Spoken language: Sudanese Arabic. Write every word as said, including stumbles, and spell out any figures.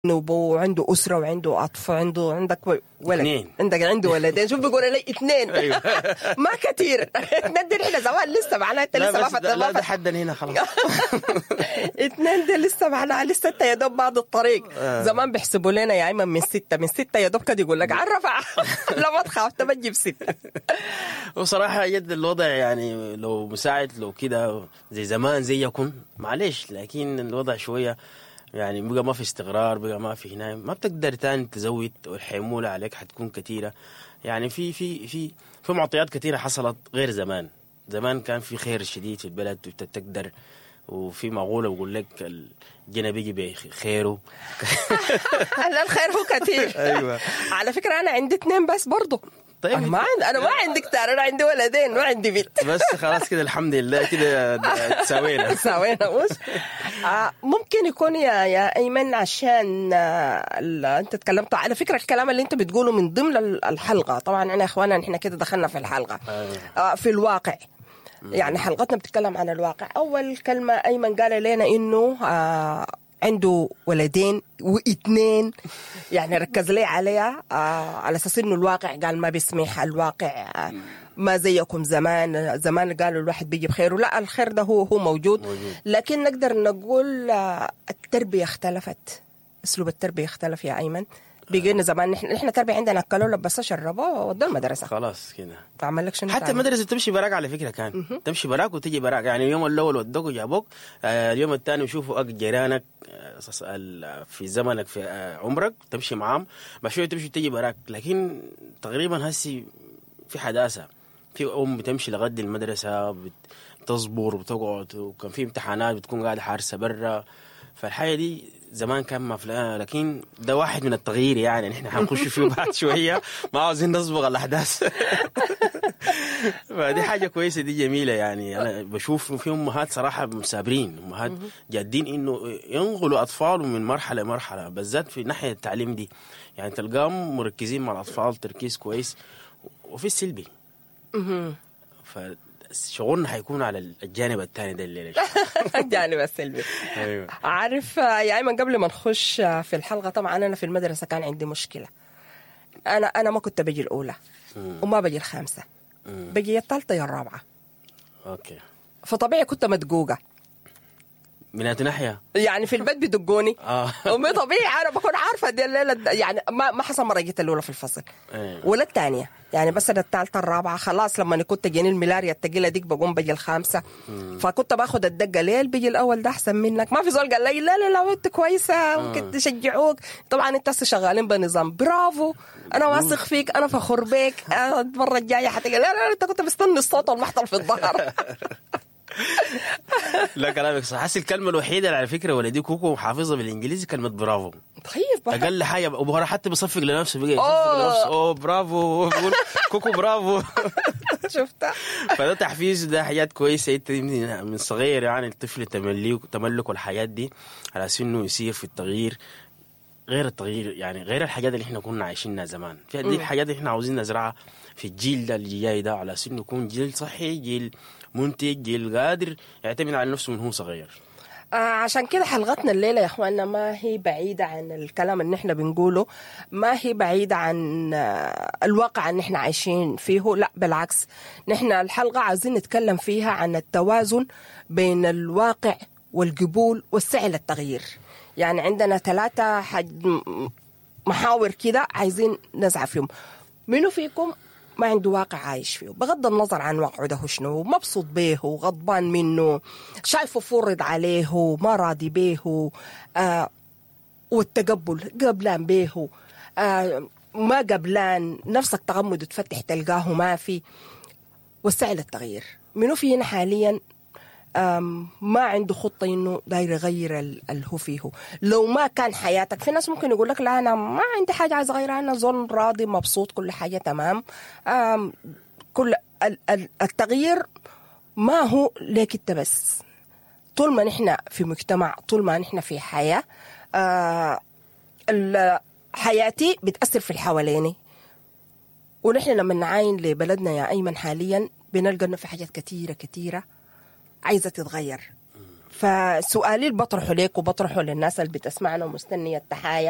وعنده اسره وعنده اطفال، عنده عندك ولد، اثنين. عندك عنده ولدين. شوف بيقول لي اثنين. أيوة. ما كثير، اثنين دي احنا زمان لسه معناها انت لا لسه ما بس فت- ده- ما لا ده فت- حدا هنا خلاص. اثنين دي لسه معناها لسه انت يا دوب بعد الطريق. آه. زمان بيحسبوا لنا يا ايمن من ستة، من ستة يا دوب كده يقول لك عرف. لا ما تخاف، تبجي بسته. وصراحة يد الوضع يعني لو مساعد لو كده زي زمان زيكم معلش، لكن الوضع شوية يعني بقى ما في استقرار، بقى ما في هنا، ما بتقدر تاني تزود، والحمولة عليك حتكون كثيرة. يعني في في في في معطيات كثيرة حصلت غير زمان. زمان كان في خير شديد في البلد وتقدر، وفي مقولة بقول لك الجنى بيجي بخيره. لا الخير هو كثير. أيوة. على فكرة انا عندي اثنين بس برضه. طيب. انا ما عندي، انا ما عندي كتار، انا عندي ولدين ما عندي بنت. بس خلاص كده الحمد لله كده تساوينا. سوينا مش آه ممكن يكون يا يا ايمن عشان آه ال- انت تكلمت على فكرة الكلام اللي انت بتقوله من ضمن ال- الحلقة. طبعا احنا يا اخوانا نحن كده دخلنا في الحلقة آه في الواقع، يعني حلقتنا بتتكلم عن الواقع. اول كلمة ايمن قال لنا انه آه عنده ولدين واثنين، يعني ركز لي عليها آه على اساس انه الواقع قال ما بيسمح، الواقع آه ما زيكم زمان. زمان قالوا الواحد بيجي بخيره، لا الخير ده هو هو موجود، موجود. لكن نقدر نقول آه، التربية اختلفت، اسلوب التربية اختلف يا ايمن. بقينا زمان نحن نحن تربيه عندنا اكلوا لبسوا شربوا ودوا المدرسة. خلاص كده. اعمل لك شنو حتى تاني؟ المدرسة تمشي براك على فكرة، كان تمشي براك وتجي براك. يعني اليوم الاول ودوك وجابوك، آه، اليوم الثاني يشوفوا أك جيرانك، آه، ص- ال- في زمنك في آه، عمرك تمشي معاهم، بعد شوية تمشي تجي براك. لكن تقريبا هسي في حداثة، في ام بتمشي لغد المدرسة، بتصبر وبتقعد، وكان في امتحانات بتكون قاعدة حارسه برا. فالحاجه دي زمان كان ما في، لكن ده واحد من التغيير يعني نحن حنخش فيه بعد شوية، ما عاوزين نسبق الاحداث. فدي حاجة كويسة، دي جميلة. يعني انا بشوف في امهات صراحة مثابرين، امهات جادين انه ينقلوا اطفالهم من مرحلة لمرحلة، بالذات في ناحية التعليم دي. يعني تلقاهم مركزين مع الاطفال تركيز كويس، وفي السلبي. فشغلنا حيكون على الجانب الثاني ده الليلة. الجانب السلبي. ايوه. عارف آه، يا ايمن قبل ما نخش آه، في الحلقة، طبعا انا في المدرسة كان عندي مشكلة، انا انا ما كنت بجي الاولى وما بجي الخامسة، بجي الثالثة يا الرابعة. okay. فطبيعي كنت مدقوقه. من أي ناحية؟ يعني في البيت بدقوني. اه. ومي طبيعي انا بكون عارفه دي الليلة يعني ما ما حصل مرة جيت الاولى في الفصل إيه. ولا الثانية، يعني بس أنا الثالثة الرابعة خلاص. لما كنت تجيني الملاريا الثقيلة ديك بقوم بجي الخامسة، فكنت باخذ الدقة ليه بيجي الاول ده احسن منك. ما في زول قال لي لا لا لا انت كويسة ممكن تشجعوك. طبعا انت هسه شغالين بنظام برافو، انا واثق فيك، انا فخور بك، أنا المرة الجاية حتجي. لا لا لا، انت كنت مستني الصوت والمحضر في الظهر. لا كلامك صح. حس الكلمة الوحيدة اللي على فكرة ولدي كوكو حافظها بالانجليزي كلمة برافو. طيب بقى. اقل حاجة، وهو حتى بيصفق لنفسه، بقى يصفق أوه. لنفسه، اوه برافو، بيقول كوكو برافو. شفتها. فده تحفيز، ده حاجات كويسة انت من من صغير يعني الطفل تمليك تملك الحاجات دي على اساس انه يسير في التغيير، غير التغيير يعني غير الحاجات اللي احنا كنا عايشينها زمان. في دي الحاجات اللي احنا عاوزين نزرعها في الجيل ده اللي جاي ده، على اساس انه يكون جيل صحي، جيل منتج، جيل قادر يعتمد على نفسه من هو صغير. آه عشان كده حلقتنا الليلة يا اخواننا ما هي بعيدة عن الكلام اللي احنا بنقوله، ما هي بعيدة عن آه، الواقع اللي احنا عايشين فيه، لا بالعكس، نحن الحلقة عايزين نتكلم فيها عن التوازن بين الواقع والقبول والسعي للتغيير. يعني عندنا ثلاثة حج م- محاور كده عايزين نزع فيهم. منو فيكم ما عنده واقع عايش فيه، بغض النظر عن واقعه ده هو شنو، مبسوط به، غضبان منه، شايفه فرض عليه، ما راضي به، آه والتقبل قبلان به، آه ما قبلان، نفسك تغمض وتفتح تلقاه ما في، والسعي للتغيير. منو فينا حاليا أم، ما عنده خطة إنه داير يغير ال- اللي هو فيه؟ لو ما كان حياتك، في ناس ممكن يقول لك لا أنا ما عندي حاجة عايز أغيرها، أنا زول راضي مبسوط كل حاجة تمام. أم، كل ال- ال- التغيير ما هو ليك أنت بس، طول ما نحن في مجتمع، طول ما نحن في حياة، آه، ال- حياتي بتأثر في اللي حواليني. ونحن لما نعاين لبلدنا يا أيمن حاليا بنلقى إنه في حاجات كثيرة كثيرة عايزة تتغير. فسؤالي اللي بطرحه ليك وبطرحه للناس اللي بتسمعنا ومستنيه التحايا.